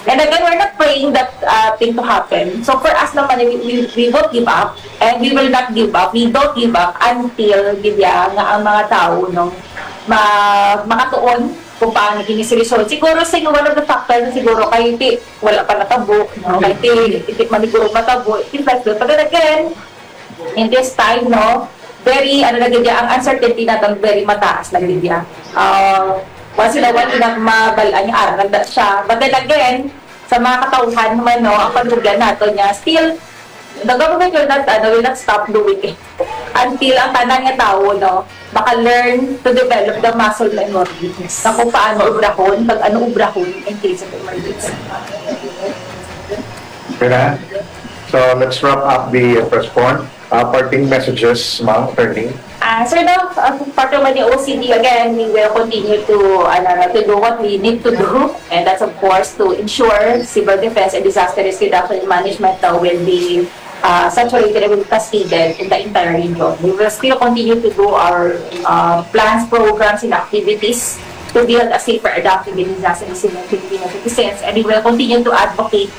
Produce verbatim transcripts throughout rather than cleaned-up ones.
And again, we're not praying that uh, thing to happen. So for us naman, we, we, we won't give up and we will not give up. We don't give up until, gid ya, nga ang mga tao, no, ma makatuon kung paano kini si result. Siguro, siguro one of the factors na siguro kay ti wala pa natabo, no? Kay ti, ti man siguro matabo, things like that. But then again, in this time, no, very, ano na gid ya, ang uncertainty naton very mataas na gid ya. Uh, once in a while, ina mabal-an nga aral na siya. But then again, sa mga katawhan naman, no, ang pagdugyan nato niya, still, the government will not, ano, will not stop doing it until ang tanan nga tawo, no, maka-learn to develop the muscle memory na kung paano obrahon, pag ano obrahon in case of emergency. Okay na? So let's wrap up the uh, press con. Uh, parting messages, ma'am, attorney. Uh, sir, no, uh, part naman ni O C D, again, we will continue to, ano, to do what we need to do. And that's, of course, to ensure civil defense and disaster risk reduction and management uh, will be uh, saturated and will be cascaded in the entire region. We will still continue to do our uh, plans, programs, and activities to build a safer, adaptive, and disaster resilient Filipino citizens. And we will continue to advocate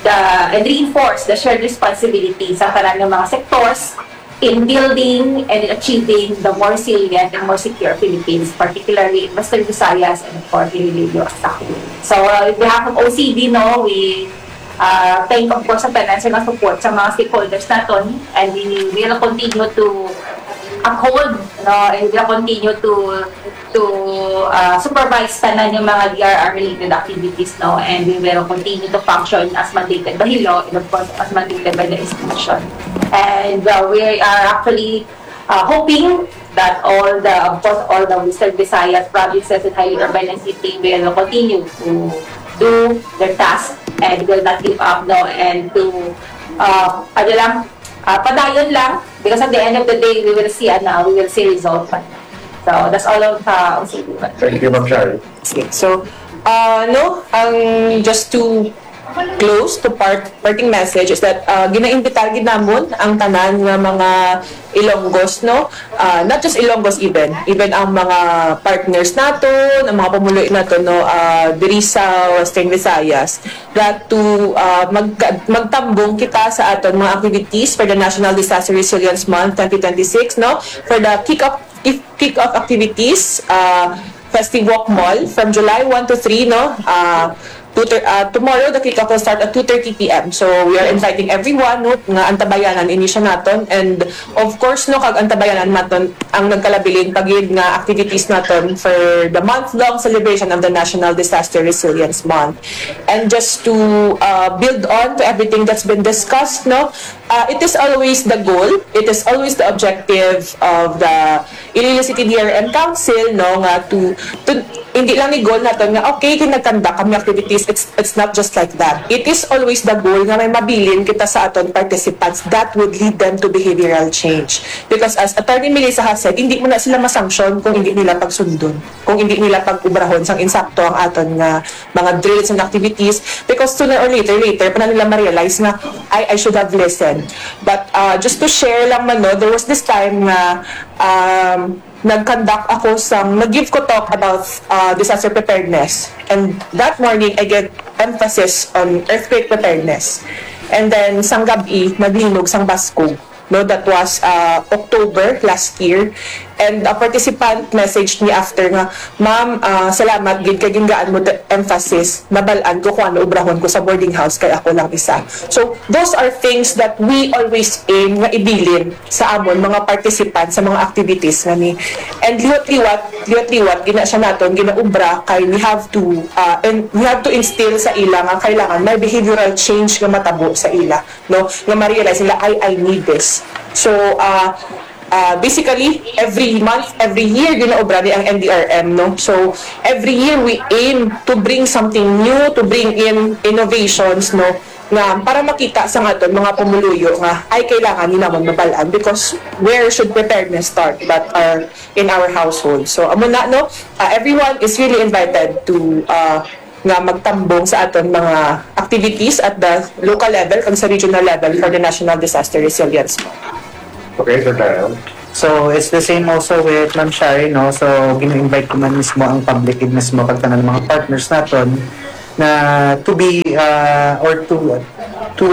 the, and reinforce the shared responsibility sa tanan nga mga sectors in building and in achieving the more resilient and more secure Philippines, particularly in Western Visayas and, of course, in Iloilo at Tacloban. So, uh, in behalf of O C D, no, we uh, thank, of course, sa tanan sa mga support sa mga stakeholders naton, and we will continue to uphold, no, and we will continue to to uh, supervise tanan yung mga D R R related activities, no, and we will continue to function as mandated by law and, of course, as mandated by the institution. And uh, we are actually uh, hoping that all the, of course, all the Western Visayas provinces and highly urbanized city will continue to do their task and will not give up, no, and to, uh, ano lang, uh, padayon lang, because at the end of the day, we will see, ano, we will see result. So, that's all of uh, O C D. Thank you, Ma'am Shari. So, uh, no, ang just to close to part parting message is that uh, ginaimbitar gid namon ang tanan nga mga Ilonggos, no, uh, not just Ilonggos, even even ang mga partners naton, ang mga pumuluyo naton, no, uh, diri sa Western Visayas, that to uh, mag magtambong kita sa aton mga activities for the National Disaster Resilience Month twenty twenty-six, no, for the kick-off kick-off activities, uh, Festive Walk Mall from July one to three, no? Uh, two thir- uh, tomorrow, the kick-off will start at two thirty p m. So, we are inviting everyone, no, nga antabayanan ini siya naton. And, of course, no, kag antabayanan naton ang nagkalabilin pa gid nga activities naton for the month-long celebration of the National Disaster Resilience Month. And just to uh, build on to everything that's been discussed, no, uh, it is always the goal, it is always the objective of the Iloilo City D R M Council, no, nga to, to hindi lang ni goal naton nga, okay, kay nag-conduct kami activities, it's it's not just like that. It is always the goal nga may mabilin kita sa aton participants that would lead them to behavioral change. Because as Attorney Melissa has said, hindi mo na sila masanction kung hindi nila pagsundon, kung hindi nila pag-ubrahon sang insakto ang aton nga mga drills and activities. Because sooner or later, later pa na nila ma-realize nga, "Ay, I should have listened." But uh, just to share lang man, no, there was this time nga um, nag-conduct ako sang, nag-give ko talk about uh, disaster preparedness. And that morning, I gave emphasis on earthquake preparedness. And then, sang gabi, naglinog sang baskog. No, that was uh, October last year. And a participant messaged me after nga, "Ma'am, uh, salamat gid kay gingaan mo the emphasis. Nabal-an ko kung ano ubrahon ko sa boarding house kay ako lang isa." So, those are things that we always aim nga ibilin sa amon mga participants sa mga activities nga ni. And liwat-liwat, liwat-liwat, gina siya naton, ginaubra kay we have to, uh, and we have to instill sa ila nga kailangan may behavioral change nga matabo sa ila, no? Nga ma-realize nila, "Ay, I need this." So, uh, uh, basically, every month, every year, ginaubra ni ang N D R M, no? So, every year we aim to bring something new, to bring in innovations, no? Nga para makita sa aton mga pumuluyo nga ay kailangan ni namon mabal-an, because where should preparedness start but uh, in our household? So amo na, no, uh, everyone is really invited to uh, nga magtambong sa aton mga activities at the local level kag sa regional level for the National Disaster Resilience Month. Okay, Sir Kyle. So it's the same also with Ma'am Shari, no? So gina-invite ko man mismo ang public gid mismo kag tanan mga partners naton na to be, ah, or to to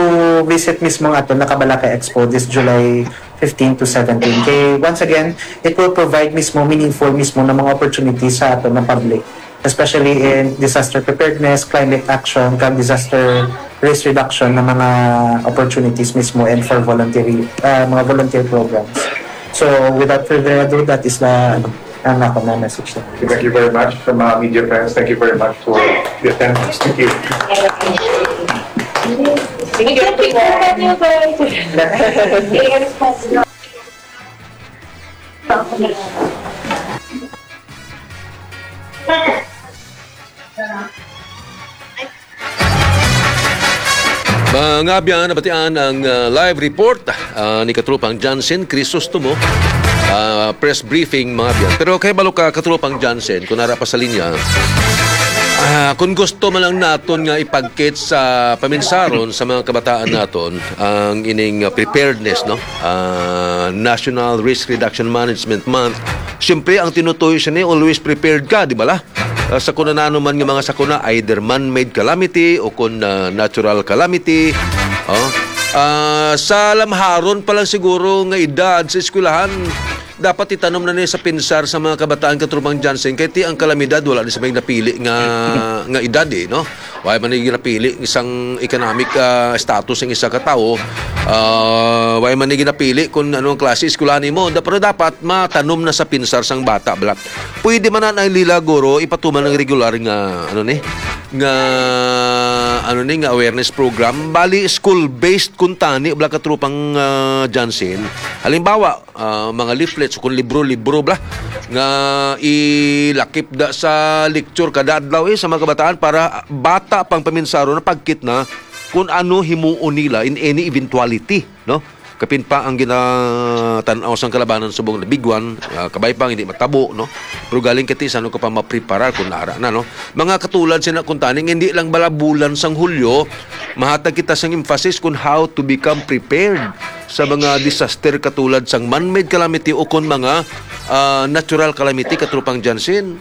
visit mismo ang aton Nakabalakay Expo this July fifteen to seventeen. Kay once again, it will provide mismo meaningful mismo na mga opportunities sa aton na public, especially in disaster preparedness, climate action, kag disaster risk reduction na mga opportunities mismo and for voluntary, ah, mga volunteer programs. So without further ado, that is the, ano, ang ako na message na. Thank you very much sa mga media friends. Thank you very much for the attendance. Thank you. Thank you, everyone. Mga abyan, nabatian ang ah, live report ah, ni Katropang Johnson Crisostomo. Ah, press briefing, mga abyan. Pero kay balo ka, Katropang Johnson, kung nara pa sa linya, ah, kung gusto man lang naton nga ipagkit sa paminsaron sa mga kabataan naton ang ining ah, preparedness, no? Ah, National Risk Reduction Management Month. Siyempre, ang tinutuyo siya ni always prepared ka, di ba la? Ah, sa kun ano man nga mga sakuna, either man-made calamity o kun ah, natural calamity. Oh. Ah, sa lamharon pa lang siguro nga edad sa eskwelahan, dapat itanom na ni sa pinsar sa mga kabataan, Katropang Johnson, kay ti ang kalamidad wala ni sa may napili nga nga edad eh, no? Wala man ni ginapili isang economic ah, status ng isa ka tawo. Ah, wala man ni ginapili kung anong klase eskwelahan nimo. Da- Pero dapat matanom na sa pinsar sang bata, bala. Pwede man na ang lila guro ipatuman ng regular nga ano ni nga ano ni nga awareness program, bali school-based kuntani, bala, Katropang ah, Johnson. Halimbawa, ah, mga leaflets o kung libro-libro, bala, nga ilakip da sa lecture kada adlaw eh, sa mga kabataan para bata pang paminsaron na pagkit na kung ano himuon nila in any eventuality, no? Kapin pa ang ginatan-aw sang kalabanan subong na big one, ah, kabay pa hindi matabo, no? Pero galing kati sa ano ka pa mapreparar kung nara na, no? Mga katulad sina kuntani, hindi lang bala bulan sang Hulyo, mahatag kita sang emphasis kung how to become prepared sa mga disaster katulad sang man-made calamity o kon mga ah, natural calamity, Katropang Johnson.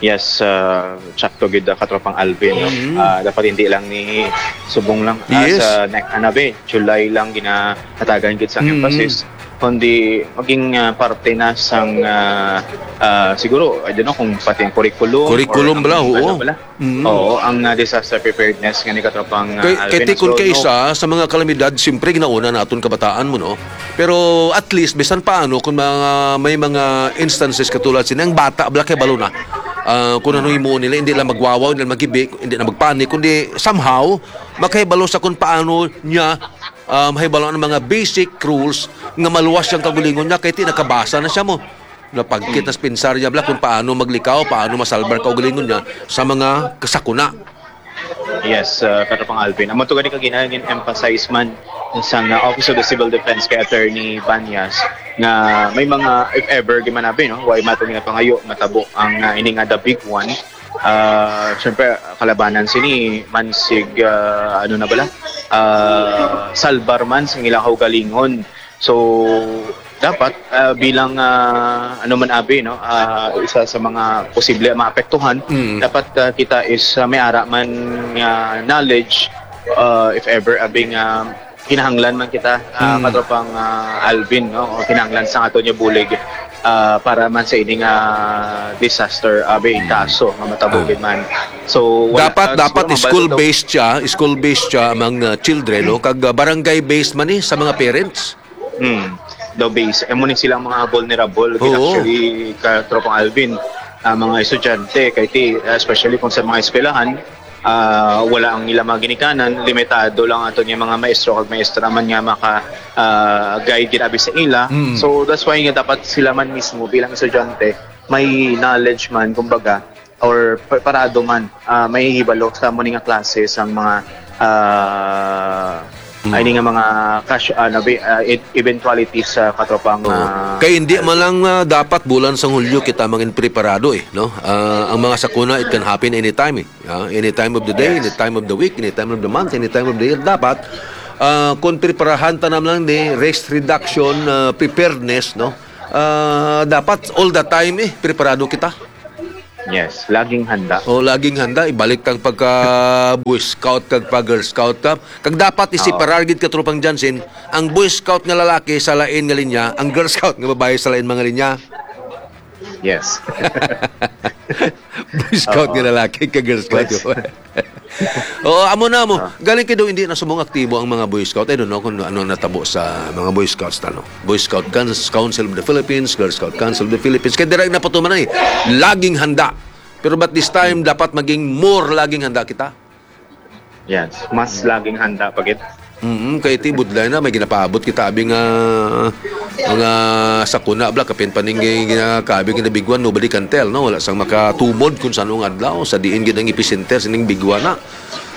Yes, uh, sakto gid, uh, Katropang Alvin, no? Mhm. Ah, dapat hindi lang ni subong lang ah, Yes. sa next, ano ba eh, July lang ginahatagan gid sa Mhm. emphasis, kundi maging ah, parte na sang ah, ah, siguro, I don't know kung pati ang curriculum. Curriculum Or bala, ang oo. Ano bala. Mhm. Oo, ang ah, disaster preparedness nga ni Katropang ah, Kay, Alvin. kay ti kun So, kay no, isa sa mga kalamidad, siyempre ginauna naton kabataan mo, no? Pero at least, bisan paano, kung mga, may mga instances katulad sini, ang bata, bala kay balo na. Ah, kung ano himuon nila, hindi lang magwawaw, hindi lang magibi, hindi na magpanik, kundi somehow, makahibalo sa kung paano niya ah, mahibalo ang mga basic rules nga maluwas siyang kaugalingon niya kay ti nakabasa na siya mo. Napagkit na sa pinsar niya, bala, kung paano maglikaw, paano masalbar kaugalingon niya sa mga kasakuna. Yes, uh, Katropang Alvin. Amo to gani kaginahan yung emphasize man sa nga Office of the Civil Defense kay Attorney Banyas nga may mga, if ever, di man abi, no? Way mato ginapangayo, matabo ang uh, ini nga the big one. Uh, Siyempre, kalabanan sini mansig, uh, ano na bala? Uh, salbar man sa ilang kaugalingon. So, dapat uh, bilang uh, ano man abi, no, uh, isa sa mga posible maapektuhan, Mm. dapat uh, kita is uh, may ara man nga knowledge, uh, if ever abi nga kinahanglan man kita, uh, Mm. Katropang uh, Alvin, no, o kinahanglan sa ato niya bulig uh, para man sa ining uh, disaster abi, kaso nga matabo Ah. gid man. So wala, Dapat uh, dapat siguro mabalo school-based siya, school-based siya among uh, children, no? Kag uh, barangay-based man ni sa mga parents. Hmm. Daw base. Amo ni silang mga vulnerable. Gid Oo. actually, Katropang Alvin, ah, mga estudyante, kay ti, especially kung sa mga eskwelahan, ah, wala ang ilang mga ginikanan, limitado lang ato niya mga maestro kag maestra man nga maka ah, guide gid abi sa ila. Mm. So that's why nga dapat sila man mismo bilang estudyante may knowledge man, kumbaga, or preparado man, ah, may hibalo sa amo ni nga klase sang mga ah, Mm. ay ni nga mga cash, ah, nabi, ah, e- eventualities sa Katropang Oo. ah, Kay hindi man lang ah, dapat bulan sang Hulyo kita mangin preparado eh, no? Ah, ang mga sakuna, it can happen anytime eh. Ah, any time of the day, any time of the week, any time of the month, any time of the year. Dapat ah, kung preparahan ta naman lang ni risk reduction, ah, preparedness, no? Ah, dapat all the time eh preparado kita. Yes, laging handa. O, laging handa. Ibalik kang pagka Boy Scout kag pa Girl Scout ka. Kag dapat Oo. isiparar gid, Katropang Jansen, ang Boy Scout nga lalaki sa lain nga linya, ang Girl Scout nga babayi sa lain mga linya. Yes. Boy Scout Oo. nga lalaki kag Girl Scout. Yes. Oo, amo na mo. Ah. Galing kay daw hindi na subong aktibo ang mga Boy Scout. I don't know kung ano natabo sa mga Boy Scouts, ano. Boy Scout Cons-, Council of the Philippines, Girl Scout Council of the Philippines. Kaya dira napatuman ay laging handa. Pero but this time, dapat maging more laging handa kita. Yes, mas laging handa pa gid. Mm, kay ti budlay na may ginapaabot kita abi nga, nga sakuna bala, kapin pa ning ginakabi nga biguan, nobody can tell, no? Wala sang makatumod kung sa anong adlaw, sa diin gid ang epicenter sining biguan na.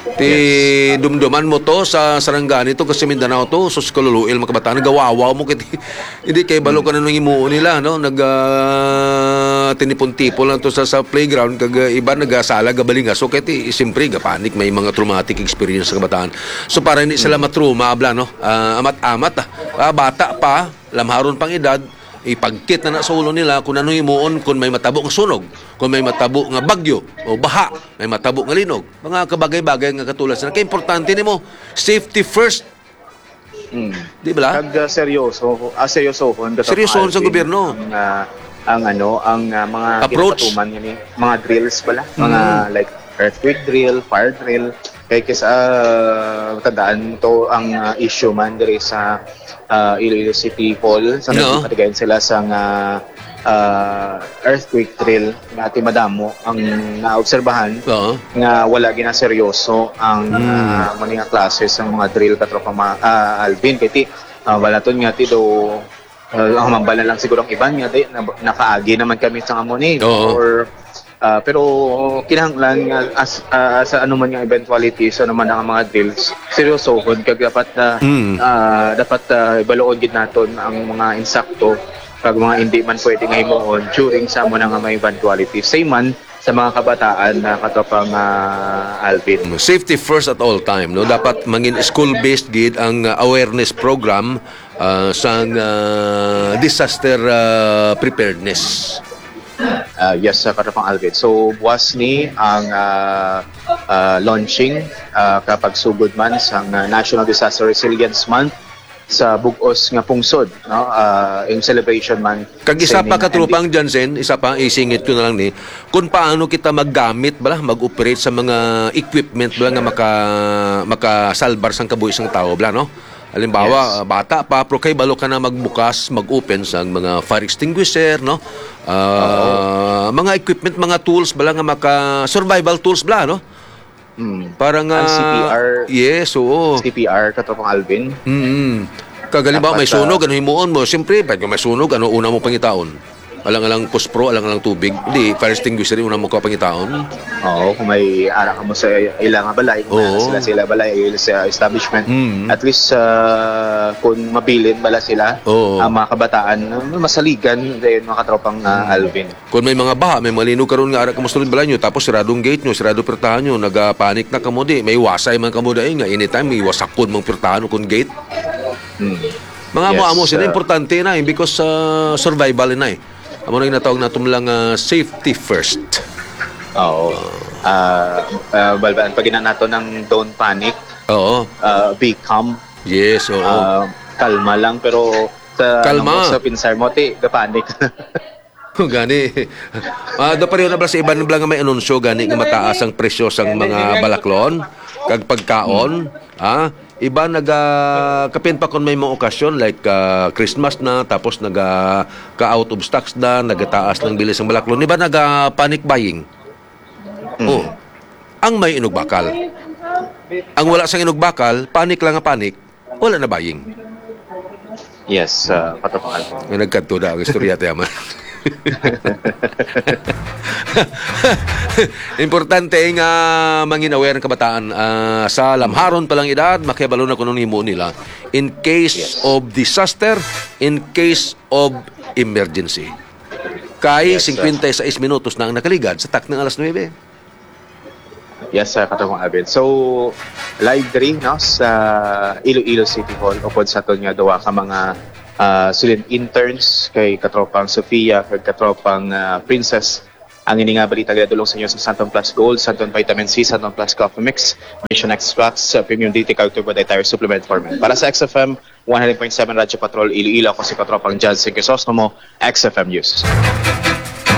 Ti Yes. dumduman mo to sa Sarangani to, kasi Mindanao to, sus, kaluluil, mga kabataan, nagawawaw mo kay ti-, hindi kay balo ka na nung himuon nila, no? Nag, ah, tinipon-tipon lang to sa, sa playground, kag, ah, iba nagasala, gabalingaso, kay ti, siyempre, gapanik, may mga traumatic experience sa kabataan. So, para hindi sila matruma, abla, no? Ah, amat-amat, ah. Ah, bata pa, lamharon pang edad, ipagkit na na sa ulo nila kung ano himuon, kung may matabo nga sunog, kung may matabo nga bagyo o baha, may matabo nga linog. Mga kabagay-bagay nga katulad sila. Kay importante nimo, safety first. Mm. Di ba? Kag, ah, seryoso, ah, seryosohon ka sa Seryosohon sa Alvin gobyerno. ang, ah, ang ano, ang, ah, mga Approach. ginapatuman nga ni, mga drills bala, mga Mm. like earthquake drill, fire drill. Kay kis-, ah, tandaan mo to ang, ah, issue man diri sa, ah, Iloilo City Hall, sa No. nagpatigayon sila sa nga, ah, earthquake drill nga ti madamo ang naobserbahan Oo. nga wala ginaseryoso ang, Hmm. ah, amo ni nga klase sang mga drill, Katropang ma-, ah, Alvin. Kay ti, ah, balaton nga ti do, ah, ang mambala lang siguro ang iban nga di, na, nakaagi naman kami sa amo ni. Oo. Or, ah, pero kinahanglan nga as, ah, sa ano man nga eventuality, sa ano man ang mga drills, seryosohon kag dapat na, Hmm. ah, dapat, ah, ibaluon gid naton ang mga insakto kag mga hindi man pwede nga himuon during sa amo na nga may eventuality. Same man sa mga kabataan na Katropang, ah, Alvin. Safety first at all time, no? Dapat mangin school-based gid ang, ah, awareness program, ah, sang, ah, disaster, ah, preparedness. Ah, yes, sa Katropang Alvin. So, buwas ni ang, ah, ah, launching, ah, kapagsugod man sang, ah, National Disaster Resilience Month sa bug-os nga pungsod, no? Ah, in celebration man Kag isa sa pa, ining Katropang Jansen, isa pa, isingit ko na lang ni, kung paano kita maggamit bala, mag-operate sa mga equipment bala nga maka-, makasalbar sang kabuhi sang tawo bala, no? Halimbawa, Yes. ah, bata pa, pero kay balo ka na magbukas, mag-open sa mga fire extinguisher, no? Ah, Oo. mga equipment, mga tools bala nga maka-, survival tools bala, no? Mm. Para nga Ang C P R, yes, oo. C P R, Katropang Alvin. Mm. Kag halimbawa, Dapat, may sunog, ah, ano himuon mo? Siyempre, pag may sunog, ano una mo pangitaon? Alang-alang puspro, alang-alang tubig. Di, fire extinguisher, una mo ka pangitaon. Oo, kung may ara ka mo sa ila nga balay, kung may Oo. sila, sila balay, sa establishment, Mm. at least, ah, kung mabilin bala sila, Oo. ang mga kabataan, masaligan din, mga Katropang, ah, Mm. Alvin. Kung may mga baha, may malinog karon nga ara kamo sulod balay nyo, tapos sirado ang gate nyo, sirado pirtahan nyo, nagapanik na kamo di, may wasay man kamo dai nga anytime may wasakon mang pirtahan o kung gate. Hmm. Mga Yes, amo-amo sila, ah, importante na, eh, because, ah, survival na, eh. Amo na ginatawag nato lang, ah, safety first. Oo. Ah, ah, balbalan pa gina nato ng don't panic. Oo. Ah, be calm. Yes, oo. Ah, kalma lang, pero sa, Kalma. ano mo, sa pinsar mo, ti, gapanik. Gani. Ah, do pareho na ba sa iban bala nga may anunsyo gani nga mataas ang presyo sang mga balaklon kag pagkaon? Ha? Iba naga-, kapin pa kon may mga okasyon like, ah, Christmas na, tapos naga-, ka-out of stocks na, nagataas ng bilis ng balaklon. Iba naga-panic buying. Mm. Oh. Ang may inugbakal. Ang wala sang inugbakal, panic lang nga panic. Wala na buying. Yes, ah, Katropang Alvin. Nga nagkadto na ang istorya, tiyaman. Importante nga mangin aware ang kabataan, ah, sa lamharon pa lang edad, makibalo na kung ano himo nila in case Yes. of disaster, in case of emergency. Kay Yes, sir. singkwenta y seis minutos na ang nakaligad sa taknang alas nuebe. Yes, sir, Katropang Alvin. So, live diri, no, sa Iloilo City Hall, upod sa aton nga duha ka mga, ah, student interns, kay Katropang Sofia, kay Katropang, ah, Princess, Ang ini nga balita ginadul-ong sa inyo sa Santon Plus Gold, Santon Vitamin C, Santon Plus Coffee Mix, Mission Extracts, uh, Premium D T, kag Turbo Dietary Supplement for Men. Para sa X F M one hundred point seven Radyo Patrol Iloilo, ako si Katropang John Crisostomo, X F M News.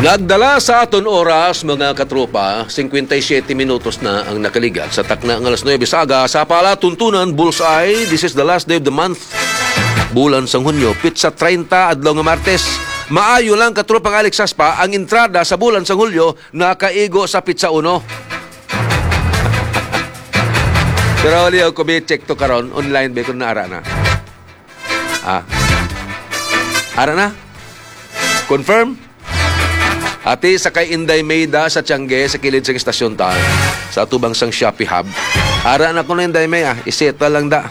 Nagdala sa aton oras, mga katropa, singkwenta y siyete minutos na ang nakaligat sa takna nga alas nuebe sa aga sa Palatuntunan Bullseye. This is the last day of the month. Bulan sang Hunyo, pitsa treinta, adlaw nga Martes. Maayo lang, katropang Alex Saspa, ang entrada sa bulan sang Hulyo nakaigo sa pitsa uno. Pero wali ako bi-check to karon, online ba kun naara na? Ah. Ara na? Confirm? Ati sa kay Inday Mayda sa Tiangge, sa kilid sa estasyon ta, sa atubang sang Shopee Hub. Ara na ko na, Inday May, ah. Iseta lang da.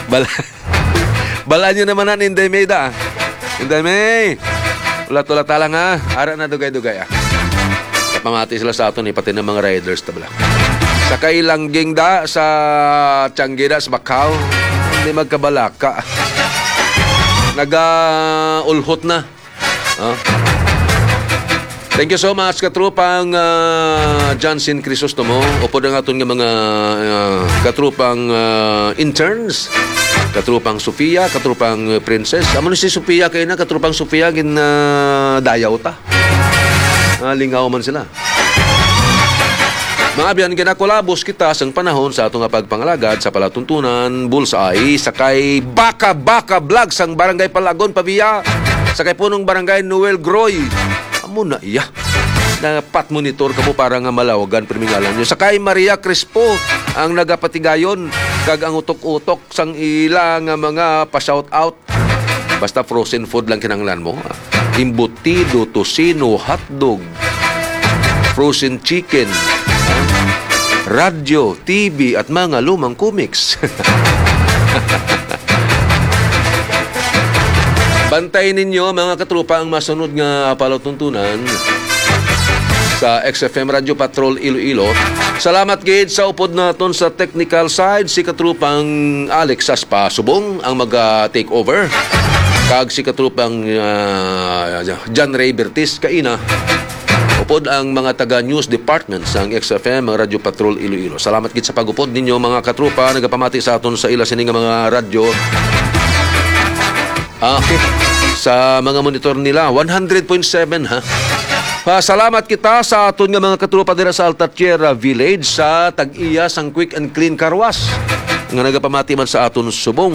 Bal- Balaan nyo naman na ni Inday May da. Inday May! Ulat-ulat ta lang, ha. Ara na dugay-dugay, ah. Kapamati sila sa aton, eh, pati ng mga riders, tabla. Sa kay Langging da, sa Tiangge da, sa Bacau, hindi magkabalaka. Naga-ulhot na. Ah. Thank you so much, katropang, ah, Johnson Crisostomo. Upod ang aton nga mga, ah, katropang, ah, interns. Katropang Sofia, katropang, eh, Princess. Amo ni si Sofia kay na, katropang Sofia, gin, ah, dayaw ta. Ah, lingaw man sila. Mga abyan, ginakulabos kita sang panahon sa ato nga pagpangalagad sa palatuntunan, Bullseye, sa kay Baka Baka Vlog sang Barangay Palagon, Pavia, sa kay Punong Barangay Noel Groy. Amo na iya. Dapat monitor kamo para nga malawagan pirmi ngalan nyo. Sa kay Maria Crispo ang nagapatigayon kag ang utok-utok sang ila nga mga pa-shout out. Basta frozen food lang kinahanglan mo. Embutido, tocino, hotdog, frozen chicken, radyo, T V, at mga lumang comics. Bantay ninyo, mga katropa, ang masunod nga palatuntunan sa X F M Radyo Patrol Iloilo. Salamat gid sa upod naton sa technical side, si katrupang Alex Saspa Subong ang mag, ah, take over, kag si katrupang, ah, John Ray Bertis kaina. Upod ang mga taga news department sang X F M, ang Radyo Patrol Iloilo. Salamat gid sa pag-upod ninyo, mga katropa, nagapamati sa aton sa ila sini nga mga radyo. Ah, okay. Sa mga monitor nila, one hundred point seven, ha? Pasalamat kita sa aton nga mga katropa dira sa Alta Tierra Village, sa tag-iya sang Quick and Clean Car Wash, nga nagapamati man sa aton subong.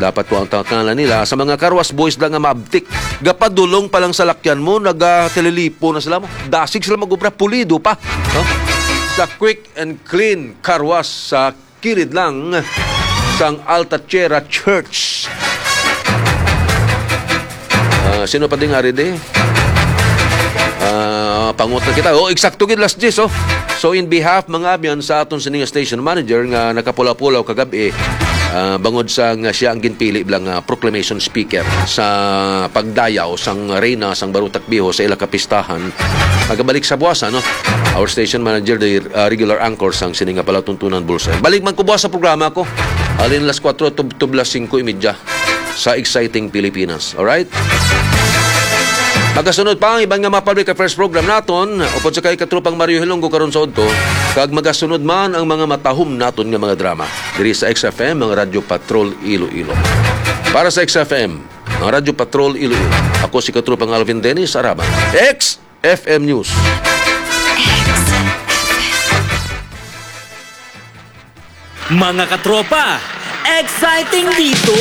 Dapat ko ang tangkalan nila sa mga car wash boys lang nga maabtik. Gapadulong pa lang sa lakyan mo, nagatelilipo na sila mo. Dasig sila mag-obra, pulido pa, no? Sa Quick and Clean Car Wash sa kilid lang sang Alta Tierra Church. Ah, sino pa ding ari di? Ah, pangot na kita. Oh, eksakto gid, las diyes, oh. So, in behalf, mga abyan, sa aton sini nga station manager nga nakapulaw-pulaw kagabi, ah, bangod sa nga siya ang ginpili bilang, ah, proclamation speaker sa pagdayaw sang Reyna sang Barutak Viejo sa ila kapistahan, magabalik sa buwasa, no? Our station manager, the, uh, regular anchor sang sini nga palatuntunan, Bullseye. Balik man ko buwas sa programa ko. Halin las kuwatro tub-, tub las singko y media sa Exciting Pilipinas. Alright? Magasunod pa ang iban nga mga public affairs program naton, upod sa kay Katrupang Mario Hilonggo karon sa udto, kag magasunod man ang mga matahom naton nga mga drama diri sa X F M, ang Radyo Patrol Iloilo. Para sa X F M, ang Radyo Patrol Iloilo, ako si Katrupang Alvin Dennis Araban. X F M News. Mga katropa, exciting dito!